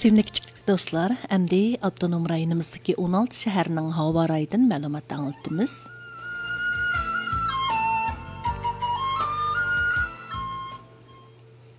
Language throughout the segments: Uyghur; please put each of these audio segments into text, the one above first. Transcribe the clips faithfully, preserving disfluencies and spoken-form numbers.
سۆيۈملۈك كىچىك دوستلار، ئەمدى ئاپتونوم رايونىمىزدىكى ئون ئالتە شەھەرنىڭ ھاۋا رايىدىن مەلۇمات ئاڭلىتىمىز.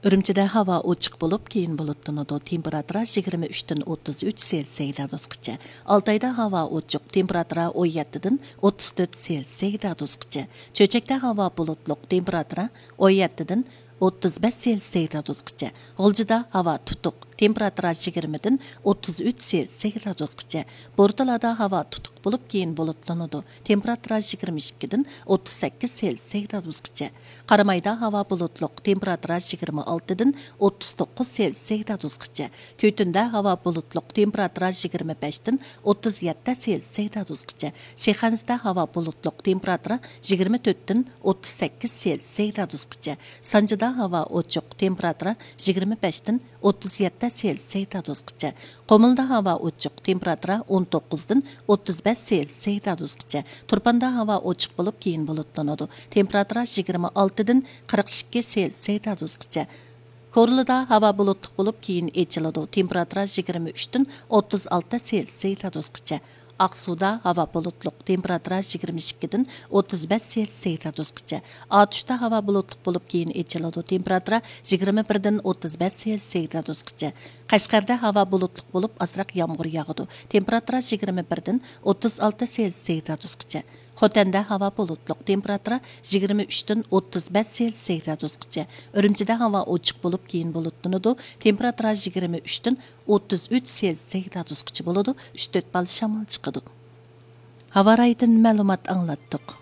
ئۈرۈمچىدە ھاۋا ئوچۇق بولۇپ، كېيىن بۇلۇتلىنىدۇ. تېمپېراتۇرا يىگىرمە ئۈچتىن ئوتتۇز ئۈچ سېلسىيە گرادۇسقىچە. ئالتايدا ھاۋا ئوچۇق، تېمپېراتۇرا ئون يەتتىدىن ئوتتۇز تۆت سېلسىيە گرادۇسقىچە. چۆچەكتە ھاۋا بۇلۇتلۇق، تېمپېراتۇرا ئون يەتتىدىن ئوتتۇز بەش سېلسىيە گرادۇسقىچە. غۇلجىدا ھاۋا تۇتۇق، تېمپېراتۇرا يىگىرمىدىن ئوتتۇز ئۈچ سېلسىيە گرادۇسقىچە. بورتالادا ھاۋا تۇتۇق بولۇپ، كېيىن بۇلۇتلىنىدۇ. تېمپېراتۇرا يىگىرمە ئىككىدىن ئوتتۇز سەككىز سېلسىيە گرادۇسقىچە. قارامايدا ھاۋا بۇلۇتلۇق، تېمپېراتۇرا يىگىرمە ئالتىدىن ئوتتۇز توققۇز سېلسىيە گرادۇسقىچە. كۈتۈندە ھاۋا بۇلۇتلۇق، تېمپېراتۇرا يىگىرمە بەشتىن ئوتتۇز يەتتە سېلسىيە گرادۇسقىچە. شىخەنزىدە ھاۋا بۇلۇتلۇق، تېمپېراتۇرا يىگىرمە تۆتتىن ئوتتۇز سەككىز سېلسىيە گرادۇسقىچە. سانجىدا ھاۋا ئوچۇق، تېمپېراتۇرا يىگىرمە بەشتىن ئوتتۇز يەتتە سېلسىيە گرادۇسقىچە. قۇمۇلدا ھاۋا ئوچۇق، تېمپېراتۇرا ئون توققۇزدىن ئوتتۇز بەش سېلسىيە گرادۇسقىچە. تۇرپاندا ھاۋا ئوچۇق بولۇپ، كېيىن بۇلۇتلىنىدۇ. تېمپېراتۇرا يىگىرمە ئالتىدىن قىرىق ئىككى سېلسىيە گرادۇسقىچە. كورلىدا ھاۋا بۇلۇتلۇق بولۇپ، كېيىن ئېچىلىدۇ. تېمپېراتۇرا يىگىرمە ئۈچتىن ئوتتۇز ئالتە سېلسىيە گرادۇسقىچە. ئاقسۇدا ھاۋا بۇلۇتلۇق، تېمپېراتۇرا يىگىرمە ئىككىدىن ئوتتۇز بەش سېلسىيە گرادۇسقىچە. ئاتۇشتا ھاۋا بۇلۇتلۇق بولۇپ، كېيىن ئېچىلىدۇ. تېمپېراتۇرا يىگىرمە بىردىن ئوتتۇز بەش سېلسىيە گرادۇسقىچە. قەشقەردە ھاۋا بۇلۇتلۇق بولۇپ، ئازراق يامغۇر ياغىدۇ. تېمپېراتۇرا يىگىرمە بىردىن ئوتتۇز ئالتە سېلسىيە گرادۇسقىچە. خوتەندە ھاۋا بۇلۇتلۇق، تېمپېراتۇرا يىگىرمە ئۈچتىن ئوتتۇز بەش سېلسىيە گرادۇسقىچە. ئۈرۈمچىدە ھاۋا ئوچۇق بولۇپ، كېيىن بۇلۇتلىنىدۇ. تېمپېراتۇرا يىگىرمە ئۈچتىن ئوتتۇز ئۈچ سېلسىيە گرادۇسقىچە بولىدۇ. ئۈچ تۆت بال شامال چىقىدۇ. ھاۋا رايىدىن مەلۇمات ئاڭلاتتۇق.